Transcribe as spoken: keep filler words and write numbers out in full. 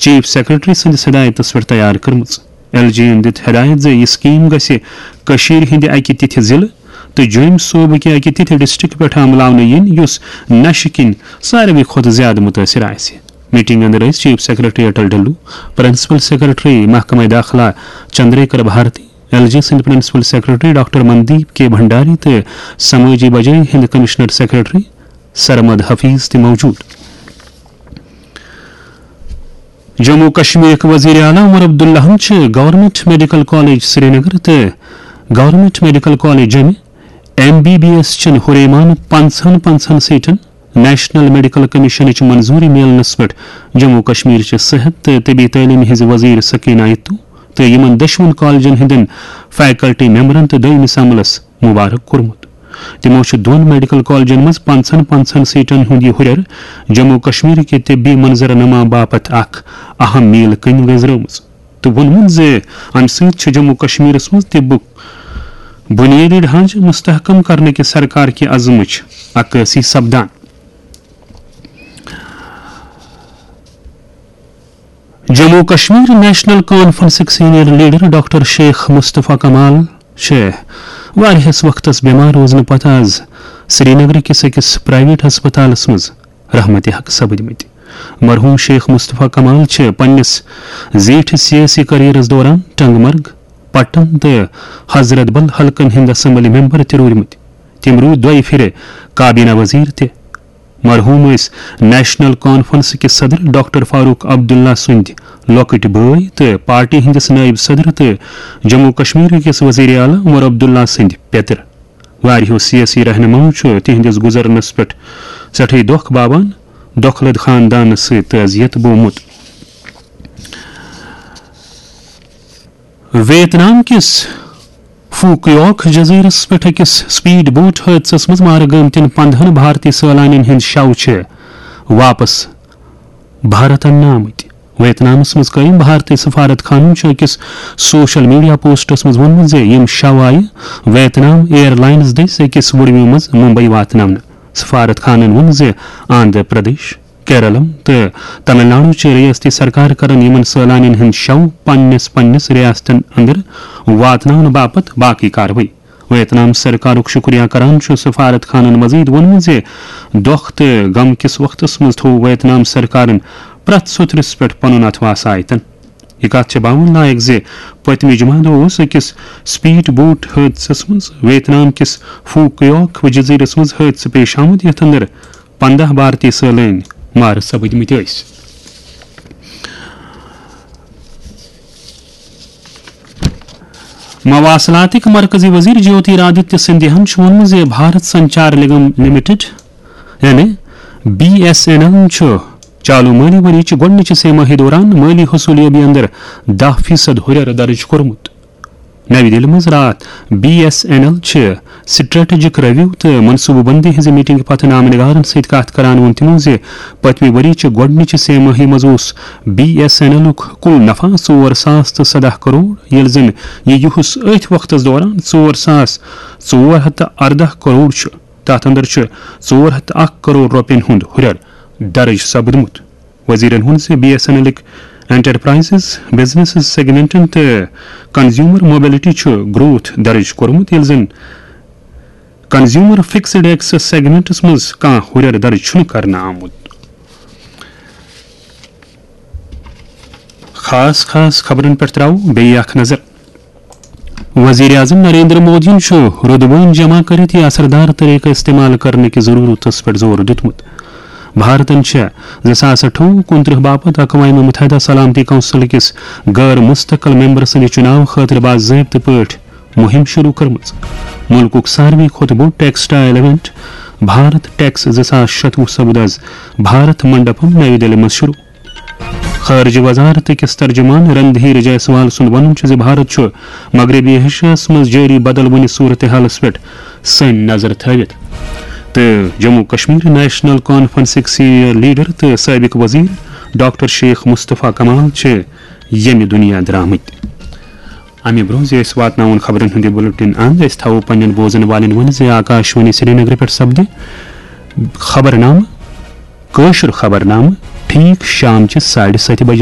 Chief secretary سٕنٛدِس ہدایتس پٮ۪ٹھ تیار کٔرمٕژ۔ ایل جی یَن دِژ ہدایت زِ یہِ سکیٖم گژھِ کٔشیٖرِ ہٕنٛدِ اَکہِ تِتھِ ضلعہٕ تہٕ جوٚمۍ صوبہٕ کہِ اَکہِ تِتھِ ڈسٹرکٹ پٮ۪ٹھ عملاونہٕ یِنۍ، یُس نشہٕ کِنۍ ساروی کھۄتہٕ زیادٕ مُتٲثر آسہِ۔ میٹنگ اندر ٲسۍ chief secretary Atal Dulloo, principal secretary محکمہ داخلہ چندریکر بھارتی، ایل جی سٕنٛدۍ principal secretary doctor Mandeep K Bhandari تہٕ سمٲجی بجٲیی ہٕنٛدۍ کمشنر سیکرٹری سرمد حفیظ تہِ موجود۔ جموں کشمیرٕکۍ وزیر اعلیٰ عمر عبداللہَن چھِ گورنمنٹ میڈیکل کالج سرینگر تہٕ گورنمنٹ میڈیکل کالج جوٚمہِ ایم بی بی ایس چٮ۪ن ہُریمان پنٛژاہن پنٛژاہن سیٹن نیشنل میڈیکل کمیشنٕچ منظوری میلنس پٮ۪ٹھ جموں کشمیر چہِ صحت تہٕ طبی تعلیمہِ ہٕنٛزِ وزیر سکینہ اتو تہٕ یِمن دۄشوٕنۍ کالجن ہٕنٛدٮ۪ن فیکلٹی ممبرن تہٕ دوٚیمِس عملس مبارک کوٚرمُت۔ تِمو چھُ دۄن میڈیکل کالجن منٛز پنٛژاہن پنٛژاہن سیٹن ہُنٛد یہِ ہُرٮ۪ر جموں کشمیر کہِ طبی منظرنامہ باپتھ اکھ اہم میل کٔنۍ گٔنزرٲومٕژ تہٕ ووٚنمُت زِ امہِ سۭتۍ چھُ جموں کشمیرس منٛز طبُک بنیٲدی ڈھانچہٕ مستحکم کرنہٕ کہِ سرکار کہِ عزمٕچ عکٲسی سپدان۔ جموں کشمیر نیشنل کانفرنسٕکۍ senior leader doctor Sheikh Mustafa Kamal چھِ واریاہس وقتس بٮ۪مار روزنہٕ پتہٕ از سرینگرٕ کِس أکِس پرائیویٹ ہسپتالس منٛز رحمتِ حق سپٕدمٕتۍ۔ مرحوم شیخ مصطفیٰ کمال چھِ پننِس زیٖٹھِ سیٲسی کیریئرس دوران ٹنگ مرگ، پٹن تہٕ حضرت بل حلقن ہٕنٛدۍ اسمبلی ممبر تہِ روٗدمٕتۍ۔ تِم روٗدۍ دۄیہِ پھِرِ کابینہ وزیر تہِ۔ مرحوم ٲسۍ نیشنل کانفرنس کِس صدر ڈاکٹر فاروق عبداللہ سٕنٛدۍ لۄکٕٹۍ بٲے تہٕ پارٹی ہٕنٛدِس نٲیِب صدر تہٕ جموں کشمیر کِس وزیر اعلیٰ عمر عبداللہ سٕنٛدۍ پیٚتٕر۔ واریاہو سیٲسی رہنماہو چھُ تِہنٛدِس گُزرنس پٮ۪ٹھ سٮ۪ٹھٕے دۄکھ باوان دۄکھلہٕ خاندانس سۭتۍ تعزیت بوومُت۔ ویت نام کِس فوکیوک جزیرس پٮ۪ٹھ أکِس سپیڈ بوٹ حٲدثس منٛز مارٕ گٲمتٮ۪ن پندہن بھارتی سٲلانٮ۪ن ہٕنٛدۍ شَو چھِ واپس بھارت اننہٕ آمٕتۍ۔ ویت نامس منٛز قٲیِم بھارتی سفارت خانن چھُ أکِس سوشل میڈیا پوسٹس منٛز ووٚنمُت زِ یِم شَو آیہِ ویت نام ایئر لائنز دٔسۍ أکِس وُڈوِ منٛز ممبئی واتناونہٕ۔ سفارت خانن ووٚن زِ آندھرا پردیش، کیرلم تہٕ تمل ناڈو چہِ ریاستی سرکار کرن یِمن سٲلانین ہٕنٛدۍ شَو پننِس پننِس ریاستن اندر واتناونہٕ باپتھ باقی کاروٲیی۔ ویت نام سرکارُک شُکریہ کران چھُ سفارت خانن مزید ووٚنمُت زِ دۄکھ تہٕ غم کِس وقتس منٛز تھوو ویت نام سرکارن پرٛٮ۪تھ سوٚتھرِس پٮ۪ٹھ پنُن اتھٕ واسہٕ آیتن۔ یہِ کتھ چھےٚ باوُن لایق زِ پٔتمہِ جمعہ دۄہ اوس أکِس سپیڈ بوٹ حٲدثس منٛز ویت نام کِس فوکیوک جزیرس منٛز حٲدثہٕ پیش آمُت، یتھ اندر پندہ بھارتی سٲلٲنۍ مارٕ سپٕدمٕتۍ ٲسۍ۔ مواصلاتٕکۍ مرکزی وزیر جیوتی رادتیہ سندھیاہن چھُ ووٚنمُت زِ بھارت سنچار نگم لمیٹڈ، یعنی بی ایس این ایل، چھُ چالو مٲلی ؤری چہِ گۄڈٕنِچہِ سے ماہی دوران مٲلی حصولیابی اندر دَہ فیصد ہُرٮ۪ر درج کوٚرمُت۔ نَوِ دِلہِ منٛز راتھ بی ایس این ایل چہِ سٹریٹجک ریویو تہٕ منصوبہٕ بندی ہٕنٛزِ میٹنگہِ پتہٕ نامہ نگارن سۭتۍ کتھ کران ووٚن تِمو زِ پٔتمہِ ؤری چہِ گۄڈٕنِچہِ سے ماہی منٛز اوس بی ایس این ایلُک کُل نفع ژور ساس تہٕ سداہ کرور، ییٚلہِ زن یہِ یُہُس أتھۍ وقتس دوران ژور ساس ژور ہتھ تہٕ ارداہ کرور چھُ۔ تتھ اندر چھُ ژور ہتھ تہٕ اکھ کرور رۄپین ہُنٛد ہُرٮ۪ر درج سپدمُت۔ وزیرن ووٚن زِ بی ایس این ایلٕکۍ انٹرپرائزز، بزنسز سیگمنٹن تہٕ کنزیومر موبلٹی چھُ گروتھ درج کوٚرمُت، ییٚلہِ زن کنزیومر فکسڈ ایکسس سیگمنٹس منٛز کانٛہہ ہُرٮ۪ر درج چھُنہٕ کرنہٕ آمُت۔ خاص خاص خبرن پٮ۪ٹھ تراوو بیٚیہِ اکھ نظر۔ وزیر اعظم نریندر مودیَن چھُ رُدبٲنۍ جمع کٔرِتھ یہِ اثردار طریقہٕ استعمال کرنہٕ کہِ ضرورتس پٮ۪ٹھ زور دیُتمُت۔ بھارتن چھےٚ زٕ ساس اَٹھووُہ کُنترٕہ باپتھ اقوام متحدہ سلامتی کونسل کِس غٲر مستقل ممبر سٕنٛدِ چُناو خٲطرٕ باضٲبطہٕ پٲٹھۍ مُہِم شروٗع کٔرمٕژ۔ مُلکُک ساروی کھۄتہٕ بوٚڑ ٹیکسٹائل ایونٹ بھارت ٹیکس زٕ ساس شتوُہ سپُد از بھارت منڈپم نَوِ دِلہِ منٛز شروٗع۔ خارجہ وزارت کِس ترجمان رندھیر جیسوال سُنٛد وَنُن چھُ زِ بھارت چھُ مغربی ایشیاہَس منٛز جٲری بدلوٕنہِ صورتحالَس پٮ۪ٹھ سٲنۍ نظر تھٲوِتھ تہٕ جموں کشمیر نیشنل کانفرنسٕکۍ سینئر لیڈر تہٕ سٲبق وزیر ڈاکٹر شیخ مصطفیٰ کمال چھِ ییٚمہِ دُنیا درٛامٕتۍ۔ اَمہِ برٛونٛہہ زِ أسۍ واتناوون خبرن ہُنٛد یہِ بُلٹن اند، أسۍ تھاوو پننٮ۪ن بوزن والٮ۪ن ؤنِتھ زِ آکاشوانی سرینگرٕ پٮ۪ٹھ سپدِ خبرنامہٕ، کٲشُر خبرنامہٕ، ٹھیٖک شام چہِ ساڑِ ستہِ بجہِ۔